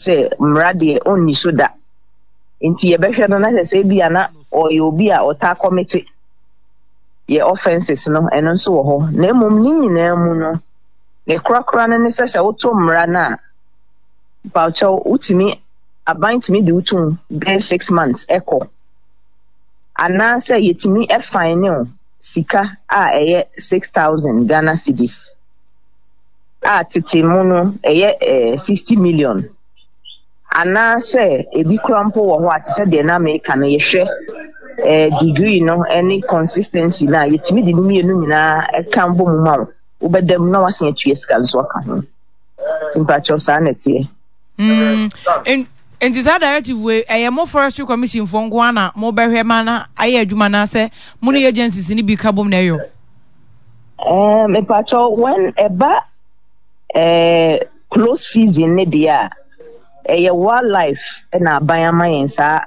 Sɛ mmara deɛ ɔnni so da. Nti yɛbɛhwɛ no na sɛ sɛ ebia na ɔyɛ obi a ɔtaa kɔmete yɛ offences no, ɛno nso wɔ hɔ. Na mmom ne nyinaa mu no, ne korakora no ne sɛ sɛ woto mmara no a, mpawokyɛw, wotumi, aban tumi de wo tom bɛyɛ 6 months ɛkɔ. Anaasɛ yɛtumi fine wo sika a ɛyɛ 6,000 Ghana cedis. A tete mu no ɛyɛ 60 million anaasɛ ebi koraa mpo wɔ hɔ a te sɛ deɛ na meka no, yɛhwɛ degree no ne consistency no a, yɛtumi de ne mmienu nyinaa ɛka bɔ mu ma wo, wobɛda mu na wasen atua sika nso aka ho. Nti mpakyɛw, saa na ɛteɛ. Nti saa directive wei, ɛyɛ mo Forestry Commission foɔ nko ara na mobɛhwɛ ma na ayɛ adwuma, anaasɛ mo ne agencies no bi ka bom na ɛyɔ? Mepakyɛw, when ɛba close season ne deɛ a, ɛyɛ wildlife na aban ama yɛn saa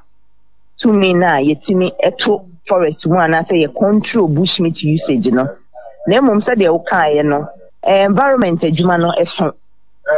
tumi no a yɛtumi to forest mu anaasɛ yɛ control bushmeat usage no. Na mmom sɛdeɛ wokaeɛ no, environment adwuma no ɛso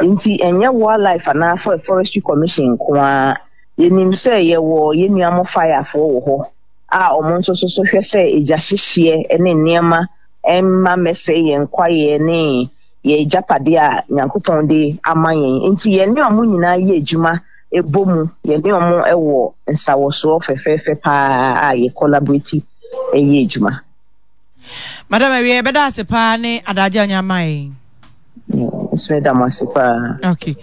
nti ɛnyɛ wildlife anaa Forestry Commission nko ara. Yɛnim sɛ yɛwɔ yɛn nua mo firefoɔ wɔ hɔ a wɔn nso so so hwɛ sɛ egya hyehyeɛ ne nneɛma mma mmɛsɛe yɛn kwaeɛ ne yɛn agyapadeɛ a Nyankopɔn de ama yɛn. Nti yɛne wɔn nyinaa yɛ adwuma bɔ mu, yɛne wɔn wɔ nsawɔsoɔ fɛfɛɛfɛ paa a yɛ collaborate yɛ adwuma. Madam, awie yɛbɛda ase paa ne adagye a ɔnya ama yɛn. Nso meda mo ase paa. Okay.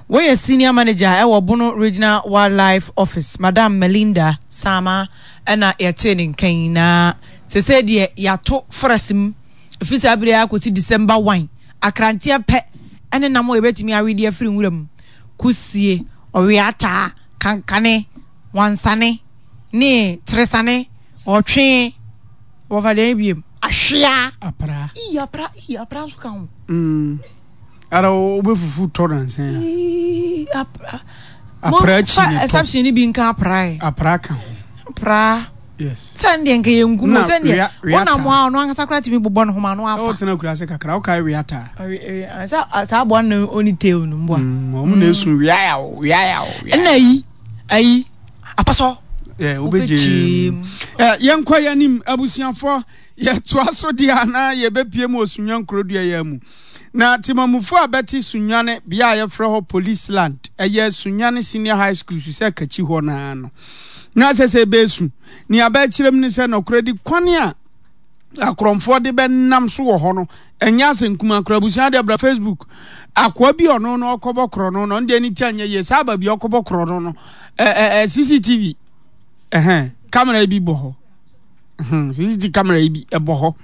Woyɛ senior manager ɛwɔ Bono Regional Wildlife Office, Madam Melinda Sama, ɛna yɛtee ne nka yi. Na sese deɛ yɛato forest mu ɛfiri saa bere akɔsi December 1, akranteɛ pɛ ɛne nam a yɛbɛtumi awe de afiri nwura mu, kusie, ɔweataa, kankane, wansane ne teresane, ɔtwe. Wɔfa deɛn biem? Ahwea. Apra. Ii, apra, ii, apra nso ka ho. Ara wobɛfufu tɔ nansa ya. Ii, apra. Apra akyi ne tɔ. Exception ni bi nka apra ɛ. Apra ka ho. Apra. Yes. Sɛ ndeɛ nka yɛ ngu mu sɛ ndeɛ wɔnam a ɔno ankasa koraa tumi bobɔ ne ho ma ano afa. Ɛwɔ tena kura ase kakra wokae wia taa. Sɛ saa aboa no ɔni tail no mboa. Ɔmo na esu wia yaw wia yaw. Ɛna ayi ayi apasɔ. Wobɛgyee mu. Yɛnkɔ yɛn anim, abusuafoɔ. Yɛtoa so deɛ a na yɛbɛpue mu wɔ Sunyani kurodua yi ara mu. Na temammufoɔ a bɛte Sunyani, bea a yɛfrɛ hɔ Police Land, ɛyɛ Sunyani Senior High School so sɛ kakyi hɔ no ara no, na ɛsɛ sɛ ɛbɛsu. Nea bɛkyerɛ mu ne sɛ nɔkorɛdi kwan a akorɔmfoɔ de bɛnam so wɔ hɔ no, ɛnyɛ asɛm kumaa koraa. Abusua deɛ bra Facebook. Akoa bi ɔno no ɔkɔbɔ korɔno no, ɔno deɛ ne ti anyɛ yie. Saa aba bi ɔkɔbɔ korɔno no, ɛɛ CCTV ɛhɛn camera yi bi bɔ hɔ. CCTV camera yi bi ɛbɔ hɔ.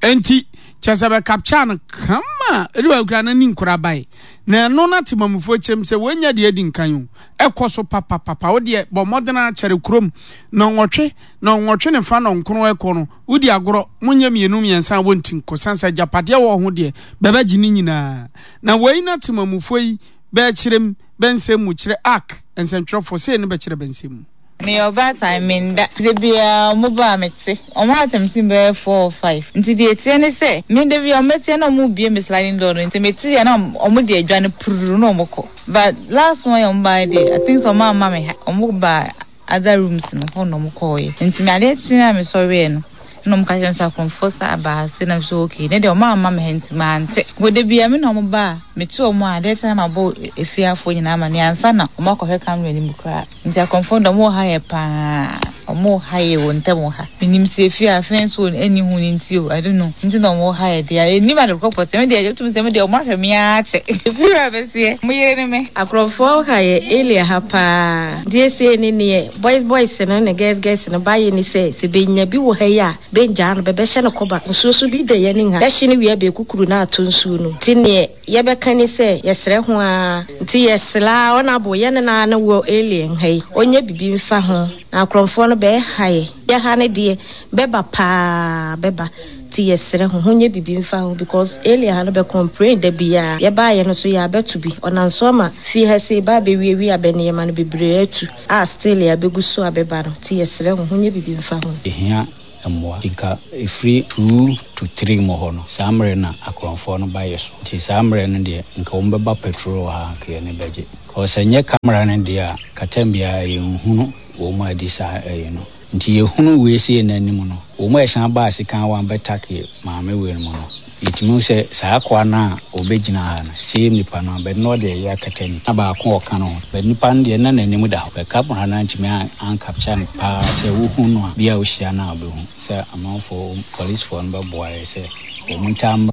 Enti kyɛ sɛ bɛ capture no kama. Ɛde bɛ kura n'ani nkora bae. Na ɛno na temamufoɔ kyerɛm sɛ wɔnya deɛ adi nkan o. Ɛkɔ so papapapa. Wo deɛ bɔ mmɔden akyɛre kurom na ɔnwɔtwe na ɔnwɔtwe ne fa na ɔnkron ɛkɔ no. Wodi agorɔ, monyɛ mmienu mmiɛnsa a wɔnti nko, sane sɛ agyapadeɛ wɔ ho deɛ, bɛbɛgye ne nyinaa. Na wei na temamufoɔ yi bɛɛkyerɛm bɛ nsɛm mu kyerɛ Ark nsɛntwerɛfoɔ, sei ne bɛkyerɛ bɛ nsɛm mu. Meyɛ ɔbaatan, menda. Da biara ɔmo ba a mete. Ɔmo atɛmte me bɛyɛ 4 or 5. Nti deɛ ɛteɛ ne sɛ, me da biara ɔmo bɛteɛ na ɔmo rebue me sliding door no, nti mete a na ɔmo de adwane pururu na ɔmo kɔ. But last one yi a ɔmo baeɛ deɛ, I think sɛ ɔmo amma me ha, ɔmo baa other rooms no hɔ na ɔmo kɔɔeɛ. Nti me adeɛ kyee a mesɔreɛ no, ɛna ɔmo ka kyerɛ me sɛ akorɔmfoɔ san aba ha sei, na me sɛ okay, ne deɛ ɔmo amma me ha nti mante. Nko da biara me na ɔmo ba a, mete ɔmo a, adeɛ kye a na mabɔ efieafoɔ nyinaa amaneɛ ansa na ɔmo akɔhwɛ camera no mu koraa. Nti akorɔmfoɔ no deɛ ɔmo wɔ ha yɛ paa, ɔmo ha yɛ wɔ ntɛm wɔ ha. Menim sɛ efie a fence wɔ ɛnni ho no nti o, I don't know, nti na ɔmo ha yɛ deɛ, ɛnnim ade korɔ pɔtee, me deɛ wotumi sɛ me deɛ ɔmo ahwɛ me ara kyɛ. Efie wura bɛseɛ, ɔmo yere ne me. Akorɔmfoɔ ha yɛ area ha paa. Deɛ sei ne neɛ boys boys no ne girls girls no bayɛ ne sɛ, sɛ bɛnya bi wɔ ha yi a, bɛngyaa no, bɛbɛhyɛ no kɔba. Nsuo so bi da yɛn ha, bɛhye no wie a bɛkukuru no ato nsuo no mu. Nti neɛ yɛbɛka ni sɛ, yɛsrɛ ho ara. Nti yɛsrɛ ara Honourable yɛne no ara ne wɔ alien ha yi, ɔnyɛ bibi mfa ho. Na akorɔmfoɔ no bɛha yɛ. Yɛ ha no deɛ, bɛba paa, bɛba. Nti yɛsrɛ ho, honyɛ bibi mfa ho because alien ha no bɛ complain da biaa. Yɛbaayɛ no nso yɛabɛto bi. Ɔnam so ama fie ha sei bɛ abɛwiawia bɛ nneɛma no bebree atu a still yɛabɛgu so a bɛba no. Nti yɛsrɛ ho, honyɛ bibi mfa ho. Yɛhia mmoa. Nti nka ɛfiri 2 to 3 mu hɔ no, saa mmerɛ na akorɔmfoɔ no ba yɛ so. Nti saa mmerɛ no deɛ nka wɔn bɛba patrol wɔ ha a nka yɛn ani bɛgye. Cause sɛ nyɛ camera no deɛ a, nka time biara yɛnhunu wɔn a adi saa ɛyi no. Nti yɛhunu wei sei no anim no, wɔn a ɛsan baa sekan wɔn abɛtake maame wei no mu no, yɛtumi hu sɛ saa akoa no a ɔbɛgyina ha no, same nipa no, but na ɔde ɛyɛ akata ne ti, na baako a ɔka no ho, but nipa no deɛ na n'anim da hɔ, but camera no antumi an capture no paa sɛ wohu no a, bi a wohyia no a wobɛhu sɛ amanfoɔ, policefoɔ no bɛboa yɛ sɛ wɔn ntaa mmra.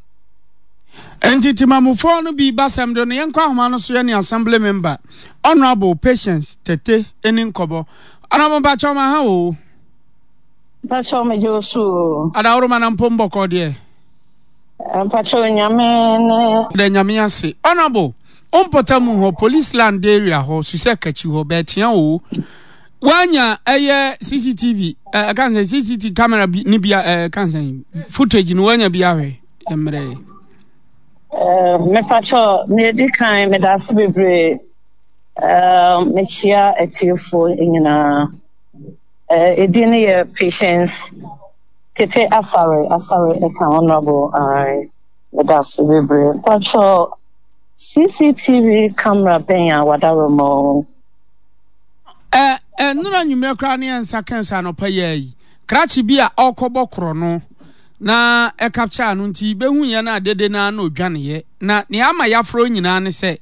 Enti Temamufoɔ no bi basɛm do no, yɛnkɔ ahoma no so yɛne Assembly Member, Honourable Patience Tete ni nkɔbɔ. Honourable mpakyɛw ma ha o. Mpakyɛw megye wo so o. Adaworoma na mpom bɔkɔɔ deɛ. Mpakyɛw nyame ne. Da nyame ase. Honourable, wo mpɔtamu hɔ, police land area hɔ, susɛ kakyi hɔ, bɛɛtea o. Wanya ɛyɛ CCTV, ɛka sɛ CCTV camera bi ne bi ɛka sɛ footage no wanya bi ahwɛ mmerɛ. Mepakyɛw, nea edi kan meda ase bebree. Mekyia atiefo nyinaa. Edin no yɛ Patience Tete Asare, Asare ɛka Honorable. Ae, meda ase bebree. Mpakyɛw, CCTV camera bɛn a wadaworo ma o? Ɛ ɛ nnora anwummerɛ koraa ne yɛn nsa kan sɛ anɔpa yi ara yi, krakye bi a ɔrekɔbɔ korɔno na ɛkapkyaa no nti bɛhu yɛn a dede no ara na ɔdwaneeɛ. Na nea ama yɛafrɛ wo nyinaa ne sɛ,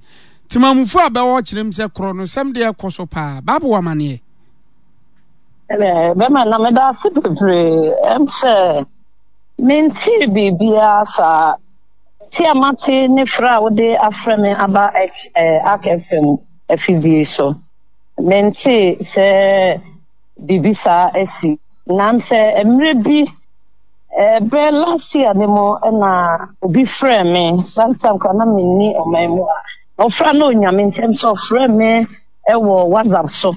temamufo a bɛwɔ hɔ kyerɛ mu sɛ korɔnosɛm deɛ ɛkɔ so paa. Bible wɔ amaneɛ. Ɛnɛ, bɛma na meda ase bebree. Ɛm sɛ mentee biribiara saa. Te a mate ne frɛ a wode afrɛ me aba Ark FM afidie so. Mentee sɛ biribi saa asi. Nam sɛ mmerɛ bi Ɛbɛ last year ne mu na obi frɛɛ me, saa time koraa na menni ɔman mu ha. Na ɔfrɛ na onya me ntɛm sɛ ɔfrɛ me wɔ WhatsApp so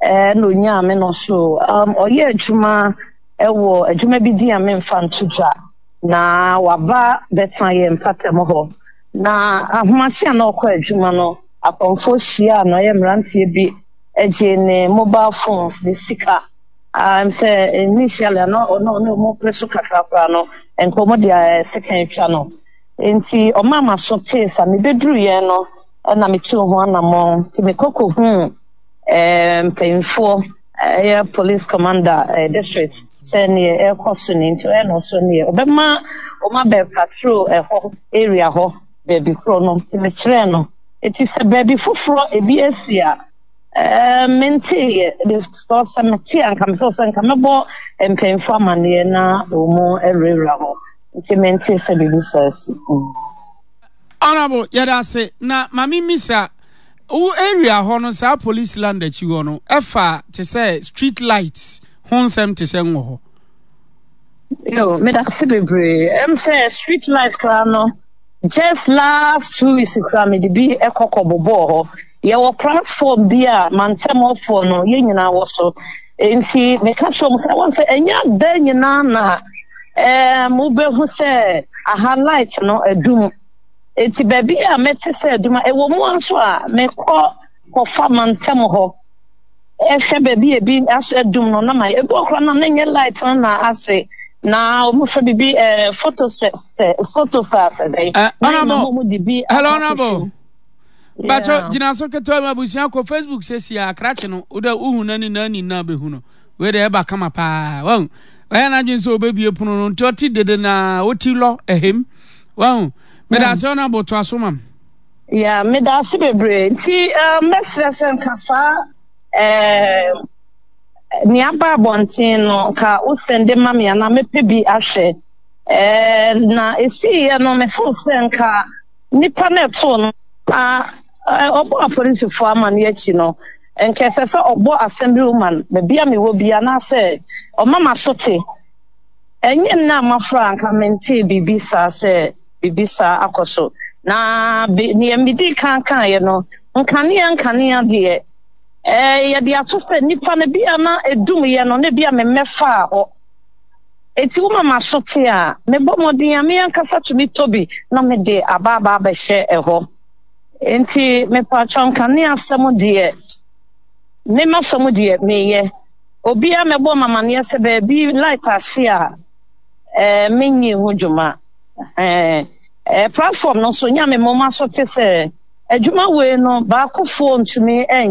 na onyaa me no so um, ɔyɛ adwuma wɔ adwuma bi din a memfa nto dwa na waba bɛtena yɛn mpatamu hɔ. Na ahomakye a na ɔkɔ adwuma no, akɔmfoɔ hyiaa no, ɛyɛ mmeranteɛ bi gyee ne mobile phones, ne sika. Um, sɛ initially ano ɔno ɔno ɔmo pere so kakra koraa no, nka ɔmo de eh, sekan atwa no. Nti ɔmaa m'aso tee sa mebeduru yɛn no, ɛna metuu ho anammɔn. Nti mekɔ kɔhuu eh, mpanyinfoɔ, ɛyɛ police commander eh, district sɛ neɛ ɛrekɔ so ni. Nti ɔyɛ na ɔso neɛ ɔbɛma ɔmo abɛ patrol ɛhɔ area hɔ baabi korɔ no. Nti mekyerɛɛ no. Nti sɛ baabi foforɔ ebi asi a, Ɛɛ, menteeɛ, because sɛ mete a nka mesɛ sɛ nka mɛbɔ mpanyinfoɔ amanneɛ na wɔn awurawura hɔ. Nti mentee sɛ biribi saa asi. Mm. Honourable, yɛda ase. Na ma me mmisa, wo area hɔ no, saa police land akyi hɔ no, ɛfa te sɛ street lights ho nsɛm te sɛ nwɔ hɔ? Yo, meda ase bebree. Ɛm sɛ street light koraa no, just last 2 weeks koraa mede bi kɔ kɔbobɔɔ hɔ. Yɛwɔ platform bi a mantam hɔfoɔ no yɛn nyinaa wɔ so. Nti meka kyerɛ wɔn sɛ wɔn sɛ ɛnyɛ ada nyinaa na ɛɛm wobɛhu sɛ aha light no adum. Nti baabi a mɛte sɛ adum a ɛwɔ mu nso a mekɔ kɔfa mantam hɔ ɛhwɛ baabi a ebi aso adum no na ma ebi wɔ koraa na ne nyɛ light no na ahye na wɔn fɛ bibi ɛɛ photo sɛ photo star sɛ dɛ. Na wɔn de bi akɔ akɔhyɛ mu. Bakyɛ gyina so ketewa mu abusua kɔ Facebook sɛsi a krakye no wodɛ wohu n'ani na ani na bɛhu no wei deɛ ɛba kama paa wahu ɔyɛ n'adwene sɛ ɔbɛbie pono no nti ɔte dede na ɔti lɔ ɛhem wahu meda ase ɔno aboto aso mam. Ya meda ase bebree nti eh, mɛsrɛ sɛ nka saa eh, nea aba abɔnten no nka wosɛnde ma me anaa mɛpɛ bi ahwɛ eh, na ɛsiiɛ no mefo sɛ nka Nipa no ɛtoo no na ɔbɔɔ apolisifoɔ amaneɛ akyi no, nka ɛsɛ sɛ ɔbɔ assembly woman baabi a mewɔ bi anaasɛ ɔma m'aso te. Ɛnyɛ nnɛ a mafra a nka mentee biribi saa sɛ biribi saa akɔ so. Na be, nea medii kan kaeɛ no, nkanea nkanea deɛ, ɛɛ, yɛde ato sɛ nipa no bi a na ɛdumyɛ no na bi a memmɛfaa hɔ. Enti woma m'aso te a, mebɔ mmɔden a me ankasa tumi tɔ bi na mede aba aba abɛhyɛ ɛhɔ. Enti mepakyɛw nkanea asɛm deɛ, me m'asɛm deɛ meyɛ. Obiara mmɛbɔ me amaneɛ sɛ baabi light ahye a eh, menyi ho dwuma. Eh, eh, platform no so nya me moma so te sɛ adwuma wei no baakofoɔ ntumi nyɛ.